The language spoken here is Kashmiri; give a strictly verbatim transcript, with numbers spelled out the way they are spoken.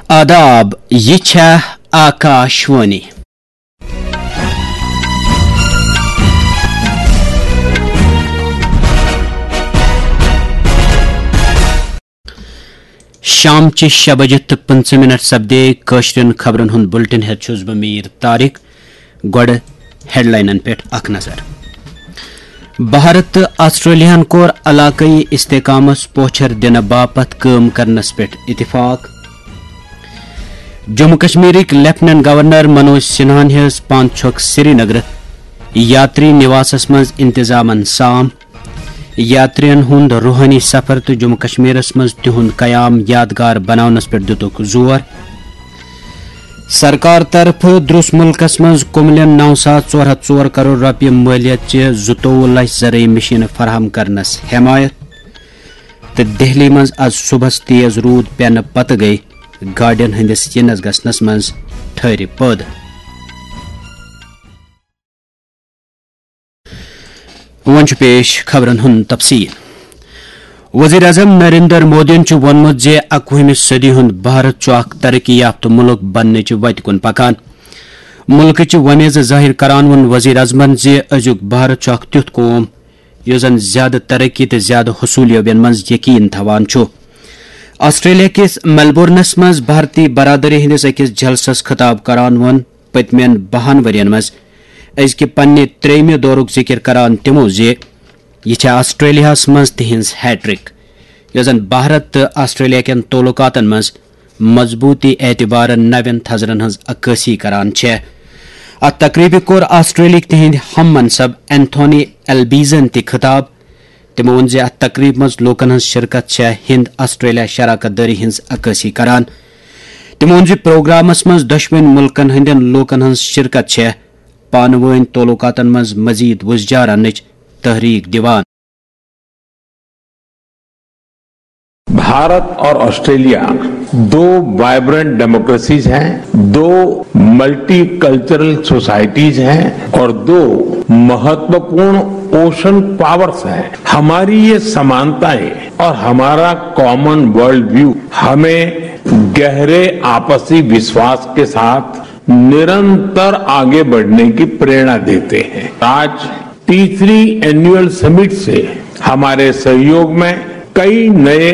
آداب، یہِ چھےٚ آکاشوانی۔ شام چہِ شےٚ بجہِ تہٕ پٕنٛژٕہ منٹ سپدے کٲشرٮ۪ن خبرن ہُنٛد بُلٹن۔ ہٮ۪تھ چھُس بہٕ میٖر طارق۔ گۄڈٕ ہیڈلاینن پٮ۪ٹھ اکھ نظر۔ بھارت تہٕ آسٹریلیاہن کوٚر علاقٲیی استحکامس پوچھر دِنہٕ باپتھ کٲم کرنس پٮ۪ٹھ اتفاق۔ جموں کشمیرٕکۍ لیفٹیننٹ گورنر منوج سنہاہن ہیٚژ پانچھوک سرینگر یاتری نواسس منٛز انتظامن سام۔ یاترین ہُنٛد روحٲنی سفر تہٕ جموں کشمیرس منٛز تِہُنٛد قیام یادگار بناونس پٮ۪ٹھ دِتُکھ زور۔ سرکار طرفہٕ دروس مُلکس منٛز کُملٮ۪ن نو ساس ژور ہتھ ژور کرور رۄپیہِ مٲلیت چہِ زٕتووُہ لچھ زرعی مشینہٕ فراہم کرنس حمایت۔ تہٕ دہلی منٛز از صبحس تیز روٗد پٮ۪نہٕ پتہٕ گٔیہِ گاڑٮ۪ن ہٕنٛدِس یِنس گژھنس منٛز ٹھہرِ پٲدٕ۔ وۄنۍ چھُ پیش خبرن ہُنٛد تفصیل۔ وزیر اعظم نریندر مودیَن چھُ ووٚنمُت زِ اَکوُہمہِ صدی ہُنٛد بھارت چھُ اکھ ترقی یافتہٕ مُلک بننٕچ وتہِ کُن پکان۔ مُلکٕچ وۄمیزٕ ظٲہِر کران ووٚن وزیر اعظمَن زِ أزیُک بھارت چھُ اکھ تیُتھ قوم یُس زن زیادٕ ترقی تہٕ زیادٕ حصوٗلیابین منٛز یقین تھاوان چھُ۔ آسٹریلیا کِس میلبورنس منٛز بھارتی برادری ہٕنٛدِس أکِس جلسس خطاب کران ووٚن پٔتمٮ۪ن بَہَن ؤرین منٛز أزکہِ پننہِ ترٛیٚیِمہِ دورُک ذِکِر کران تِمو زِ یہِ چھےٚ آسٹریلیاہَس منٛز تِہنٛز ہیٹرک، یۄس زن بھارت تہٕ آسٹریلیا کٮ۪ن تعلقاتن منٛز مضبوٗطی اعتبارٕ نوٮ۪ن تھزرن ہٕنٛز عکٲسی کران چھےٚ۔ اتھ تقریبہِ کوٚر آسٹریلیاہٕکۍ تِہنٛدۍ ہم منصب اینتھونی البیزن تہِ خطاب۔ تِمو ووٚن زِ اتھ تقریبہِ منٛز لوٗکن ہٕنٛز شرکت چھےٚ ہند آسٹریلیا شراکت دٲری ہٕنٛز عکٲسی کران۔ تِمو ووٚن زِ پروگرامس منٛز دۄشوٕنۍ مُلکن ہٕنٛدٮ۪ن لوٗکن ہٕنٛز شرکت چھےٚ پانہٕ وٲنۍ تعلقاتن منٛز مزید وُزجار اننٕچ تحریک دِوان۔ भारत और ऑस्ट्रेलिया दो वाइब्रेंट डेमोक्रेसीज हैं, दो मल्टीकल्चरल सोसाइटीज हैं और दो महत्वपूर्ण ओशन पावर्स हैं। हमारी ये समानताएं और हमारा कॉमन वर्ल्ड व्यू हमें गहरे आपसी विश्वास के साथ निरंतर आगे बढ़ने की प्रेरणा देते हैं। आज तीसरी एनुअल समिट से हमारे सहयोग में कई नए